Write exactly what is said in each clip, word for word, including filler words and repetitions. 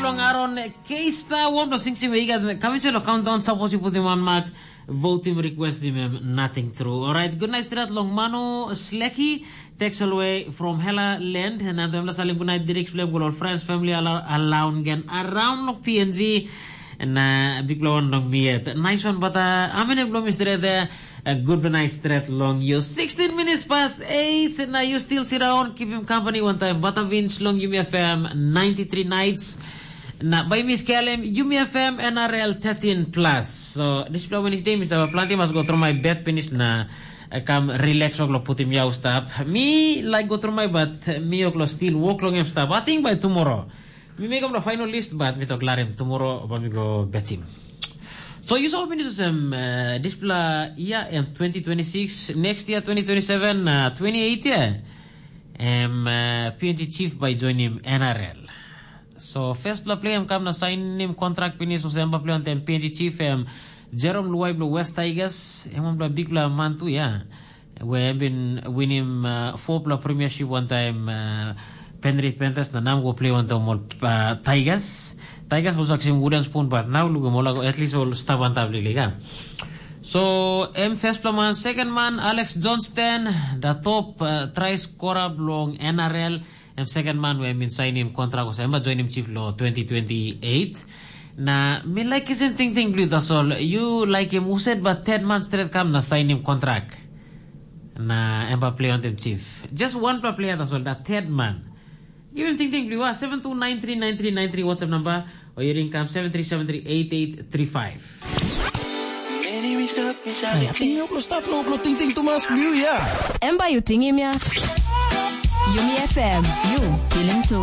Long Aaron Keista, one of the things you may get coming to countdown, suppose you put him on mark, vote him, request him, him, nothing true. All right, good night, straight long Manu Sleki, text all way from Hella Land, and I'm the Salim good night, Dirk Flem, good old friends, family, around again, around long P N G, and uh, big blow on long me yet. Nice one, but uh, I'm in a blow, Mister There. A good night straight long you. Sixteen minutes past eight, and now you still sit down, keep him company one time. But a Vince long Yumi F M ninety-three nights. Na by Miss Kelem, Yumi F M N R L thirteen plus. So this blow Wednesday, Miss Our Planty must go through my bed finish na I come relax, lo put him yau stap. Me like go through my bed, me oklo still walk long him stap. I think by tomorrow. Mi mekim lo final list, but mi tok larim tomorrow ba mi go betim. So you saw minutes em uh, dispela year em twenty twenty-six, next year twenty twenty-seven, uh, twenty-eight year. Em uh, P N G chief by join him N R L. So first pla play em kam na sign him contract pinis, so em ba play on tem P N G chief em Jerome Luai blo West Tigers, em on bla big bla man tu ya. We em bin winim uh, four pla premiership one time uh, Penrith Panthers na nam go play on tom ol uh, Tigers. Tigers was actually wooden spoon, but now look em all at least all stap on top lili ka. So em first pla man, second man Alex Johnston, the top uh, try scorer belong N R L. Em second man we em bin sign him contract was em ba join him chief lo twenty twenty-eight. Na mi like kisim ting ting bli tasol. You like him uset ba third man straight kam na sign him contract. Na em ba play on them chief. Just one pla player tasol, that third man. Give him ting ting bli wa seven two nine three nine three nine three WhatsApp number, or you ring kam seven three seven three eight eight three five. Aya, ting yuk lo stap lo lo ting ting tumas liu ya. Em ba yu tingim ya. Yumi F M, yu pilim tu.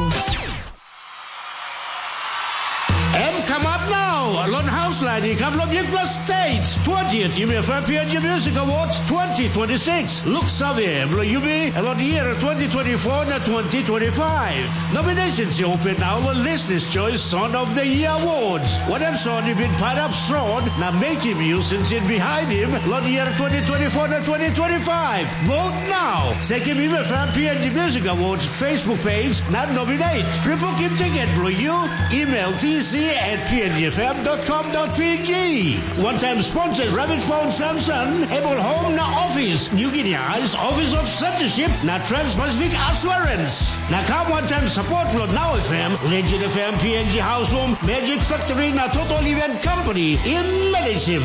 Em kamap nau, lon haus lain i kam long bikpela stage. Twentieth Yumi F M P N G Music Awards twenty twenty-six. Look save, blo Yumi, lon year twenty twenty-four na twenty twenty-five. Nominations i open nau lo Listeners Choice Song of the Year Awards. Wanem song i bin pairap strong na making you since in behind him lon year twenty twenty-four na twenty twenty-five. Vote now. Sekim Yumi F M P N G Music Awards Facebook page na nominate. Pre-booking ticket blo you. Email T C at P N G F M dot com dot P G. One time sponsors Rabbit Phone Samson, Able Home na Office, New Guinea Eyes Office of Censorship na Trans-Pacific Assurance. Na kam one time support lo Now F M, Legend F M, P N G House Home, Magic Factory na Total Event Company. Im manage him.